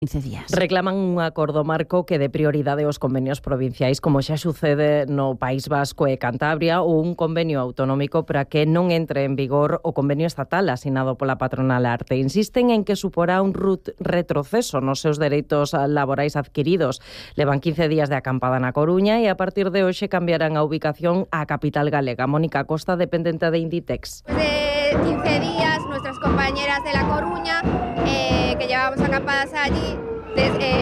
15 días. Reclaman un acordo marco que dé prioridade aos convenios provinciais, como xa sucede no País Vasco e Cantabria, ou un convenio autonómico para que non entre en vigor o convenio estatal asinado pola patronal Arte. Insisten en que suporá un retroceso nos seus dereitos laborais adquiridos. Levan 15 días de acampada na Coruña e a partir de hoxe cambiarán a ubicación á capital galega. Mónica Costa, dependente de Inditex. De 15 días, nuestras compañeras de La Coruña, que llevamos acampadas allí,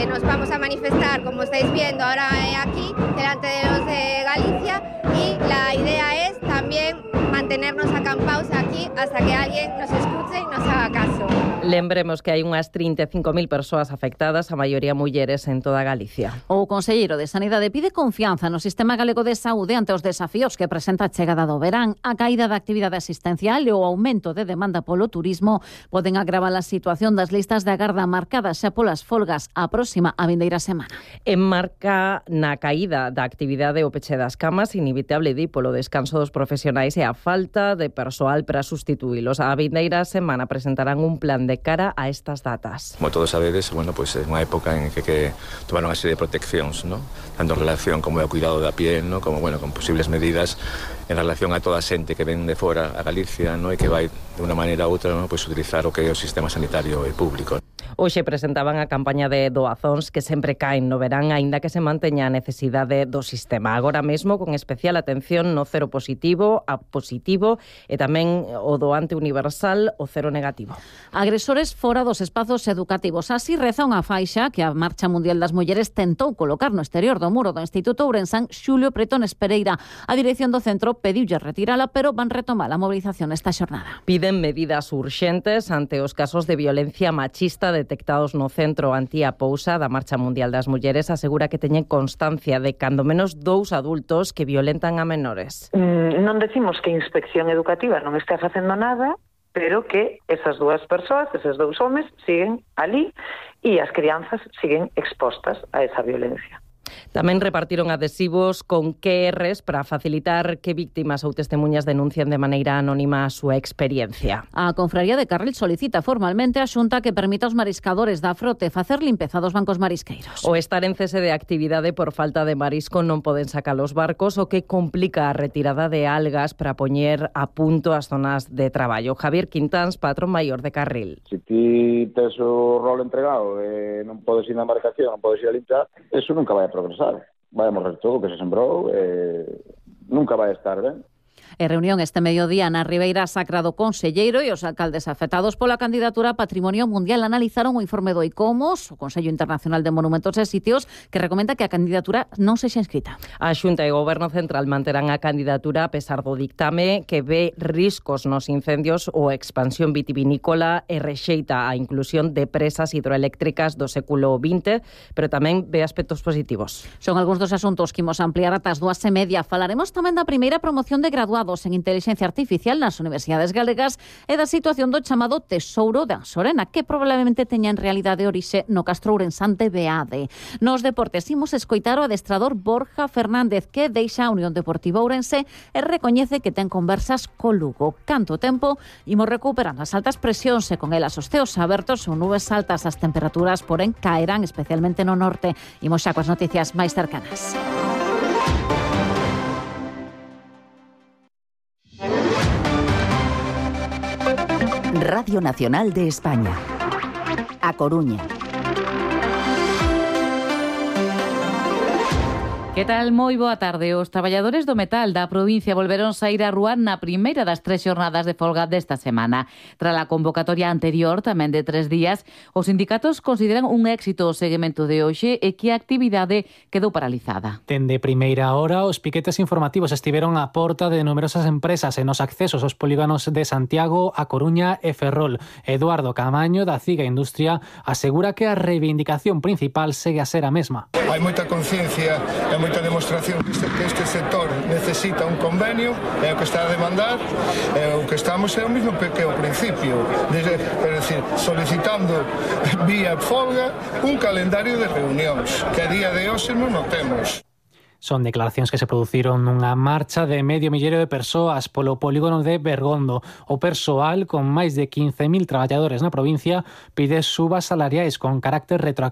nos vamos a manifestar, como estáis viendo ahora aquí, delante de los de Galicia, y la idea es también mantenernos acampados aquí hasta que alguien nos escuche y nos haga caso. Lembremos que hai unhas 35.000 persoas afectadas, a maioría mulleres en toda Galicia. O Conselleiro de Sanidade pide confianza no sistema galego de saúde ante os desafíos que presenta a chegada do verán. A caída da actividade asistencial e o aumento de demanda polo turismo poden agravar a situación das listas de agarda marcadas xa polas folgas a próxima a vindeira semana. Enmarca na caída da actividade o peche das camas, inevitable di polo descanso dos profesionais e a falta de persoal para sustituílos. A vindeira semana presentarán un plan de cara a estas datas. Como todos sabedes, pues é unha época en que tomaron unha serie de proteccións, ¿no? Tanto en relación como ao cuidado da piel, ¿no? Como con posibles medidas en relación a toda a xente que ven de fora a Galicia, ¿no? E que vai de unha maneira ou outra, ¿no? Pues utilizar o que é o sistema sanitario público. Hoxe presentaban a campaña de doazóns que sempre caen no verán, aínda que se manteña a necesidade do sistema. Agora mesmo, con especial atención no cero positivo, a positivo e tamén o doante universal, o cero negativo. Agresores fora dos espazos educativos. Así reza unha faixa que a Marcha Mundial das Mulleres tentou colocar no exterior do muro do Instituto Ourensán Xulio Pretones Pereira. A dirección do centro pediulle retirala, pero van retomar a movilización esta xornada. Piden medidas urxentes ante os casos de violencia machista detectados no centro Antía Pousa da Marcha Mundial das Mulleres. Asegura que teñen constancia de cando menos 2 adultos que violentan a menores. Non decimos que a inspección educativa non está facendo nada, pero que esas 2 persoas, esos 2 homes, siguen ali e as crianzas siguen expostas a esa violencia. Tamén repartiron adhesivos con QRs para facilitar que víctimas ou testemunhas denuncien de maneira anónima a súa experiencia. A Confraría de Carril solicita formalmente a Xunta que permita aos mariscadores da frote facer limpeza dos bancos marisqueiros. O estar en cese de actividade por falta de marisco non poden sacar os barcos, o que complica a retirada de algas para poñer a punto as zonas de traballo. Javier Quintáns, patrón maior de Carril. Se ti tes o rol entregado e non podes ir na embarcación, non podes ir a limpiar, eso nunca vai a progresar. Vai a morrer todo o que se sembrou, nunca vai a estar ben. E reunión este mediodía na Ribeira Sacra do Conselleiro e os alcaldes afectados pola candidatura a Patrimonio Mundial analizaron o informe do ICOMOS, o Consello Internacional de Monumentos e Sitios, que recomenda que a candidatura non sexa inscrita. A Xunta e o Goberno Central manterán a candidatura a pesar do dictame que ve riscos nos incendios ou expansión vitivinícola e rexeita a inclusión de presas hidroeléctricas do século XX, pero tamén ve aspectos positivos. Son algúns dos asuntos que imos ampliar ata as 2:30. Falaremos tamén da primeira promoción de graduados en Inteligencia Artificial nas universidades galegas e da situación do chamado Tesouro de Ansorena, que probablemente teña en realidade orixe no Castro Ourensán de Beade. Nos deportes imos escoitar o adestrador Borja Fernández, que deixa a Unión Deportiva Ourense e recoñece que ten conversas co Lugo. Canto tempo imos recuperando as altas presións e con elas os ceos abertos ou nubes altas. As temperaturas, porén, caerán especialmente no norte. Imos xa coas noticias máis cercanas. Radio Nacional de España. A Coruña. Que tal? Moi boa tarde. Os traballadores do metal da provincia volveron saír á rúa na primeira das 3 xornadas de folga desta semana. Tras a convocatoria anterior, tamén de 3 días, os sindicatos consideran un éxito o seguimento de hoxe e que a actividade quedou paralizada. Dende primeira hora, os piquetes informativos estiveron á porta de numerosas empresas e nos accesos aos polígonos de Santiago, A Coruña e Ferrol. Eduardo Camaño, da CIGA Industria, asegura que a reivindicación principal segue a ser a mesma. Hai moita conciencia e moita demostración que este sector necesita un convenio, é o que está a demandar, e o que estamos é o mismo que ao principio, é dicir, solicitando vía folga un calendario de reunións, que a día de hoxe non o temos. Son declaracións que se produciron nunha marcha de medio milleiro de persoas polo polígono de Bergondo. O persoal, con máis de 15.000 traballadores na provincia, pide subas salariais con carácter retroactivo